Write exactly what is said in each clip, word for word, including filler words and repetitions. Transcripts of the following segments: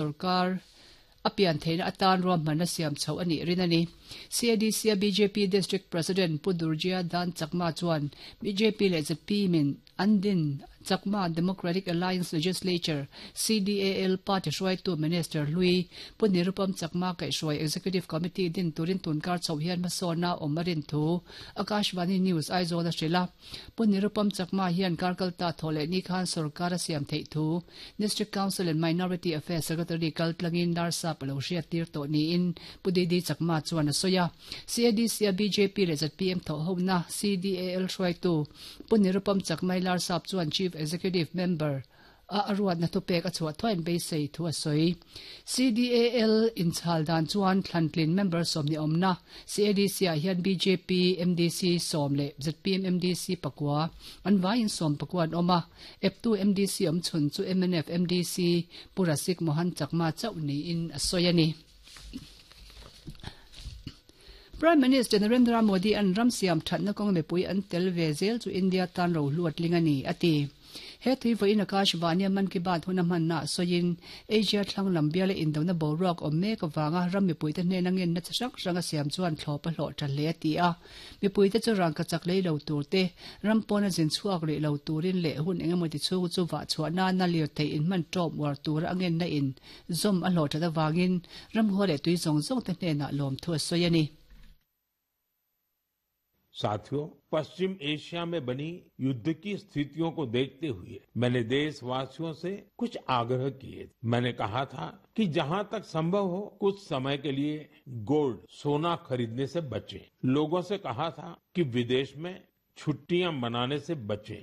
Sarkar a pian theihna atan ruahmanna siam chhoh a nih rin a ni. C A D C a B J P District President Pu Durjya Dan Chakma chuan B J P leh Z P M in an din Chakma Democratic Alliance Legislature C D A L party hruaitu Minister hlui Pu Nirupam Chakma kaihhruai Executive Committee din turin tunkar chho hian hmasawnna awm a rin thu Akashvani News Aizawl a hrilh a. Pu Nirupam Chakma hian karkalta thawhlehni khan sarkar a siam theih thu District Council and Minority Affairs Secretary kaltlangin Larsap a lo hriat tir tawh niin Pu D D Chakma chuan a sawi a. C A D C a B J P leh Z P M thawhhona C D A L hruaitu Pu Nirupam Chakma Larsap chuan Chief Executive Member a aruat na thupek a chhuah thuain beisei thu a sawi. C D A L inchhal dan chuan thlantlin member sawmni awmna C A D C ah hian B J P M D C sawm leh Z P M M D C pakua an vaiin sawm pakua an awm a. Eptu M D C awm chhun chu M N F M D C Pu Rasik Mohan Chakma chauh niin a sawi a ni. Prime Minister Narendra Modi an ram siam thatna kawng mipui an tel ve zel chu India tan ro hluat ling a ni a ti. He thui vawiin Akashvani Mann Ki Baat hun a hmanna sawiin Asia thlang lam biala indona boruak awm mek awanga ram mipuite hnena ngenna chi hrang hrang a siam chuan thlawp a hlawh tha hle a ti a. Mipuite chu rangkachak lei lo tur te, ram pawna zin chhuak rih lo turin leh hun engemaw ti chhung chu vah chhuah nana lir thei in hman tawp uar tura a ngenna in zawm a hlawh that awangin ram haw leh tui zawng zawng te hnenah lawm thu a sawi a ni. साथियों, पश्चिम एशिया में बनी युद्ध की स्थितियों को देखते हुए मैंने देशवासियों से कुछ आग्रह किए। मैंने कहा था कि जहां तक संभव हो, कुछ समय के लिए गोल्ड, सोना खरीदने से बचें। लोगों से कहा था कि विदेश में छुट्टियां मनाने से बचें।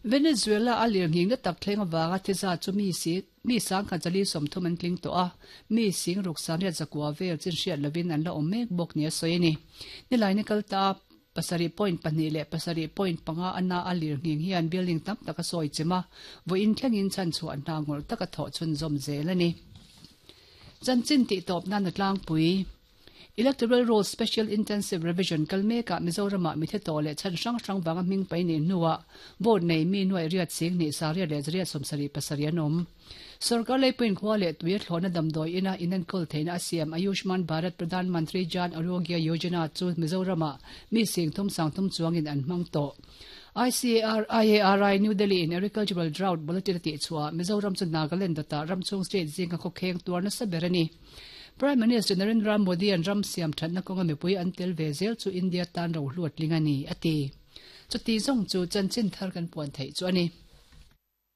Venezuela a lirnghing na tak thleng awanga thiza chu mi si mi sang khat zali sawmthum an tling tawh a, mi sing ruk sangriat zakua vel chin hriat lovin an la awm mek bawk ni a sawi a ni. Nilaini kalta pasarih point pahnih leh pasarih point panga ana a lirnghing hian building tam tak a sawi chim a, vawiin thlengin chhan chhuah hna ngawrh taka thawh chhun zawm zel a ni. Chanchin tih tawp nan a tlangpui. Electoral Roll Special Intensive Revision kal mekah Mizorama mi the tawh leh chhan hrang hrang wanga hming pai nei hnuah vote nei mi nuai riat sing hnih sariat leh zariat sawmsarih pasarih an awm. Sarkar leipuiin khua leh tui a thlawhna damdawi ina inenkawl theihna a siam Ayushman Bharat Pradhan Mantri Jan Arogya Yojana chu Mizorama mi sing thum sang thum chuangin an hmang tawh. I C A R I A R I New Delhi in Agricultural Drought Bulletin a tih chhuah Mizoram chu Nagaland dawtah ramchhung state zinga khawkheng tuar nasa ber a ni. Prime Minister Narendra Modi an ram siam thatna kawnga mipui an tel ve zel chu India tan ro hluat ling a ni a ti. Chuti zawng chu chanchin thar kan puan theih chu a ni.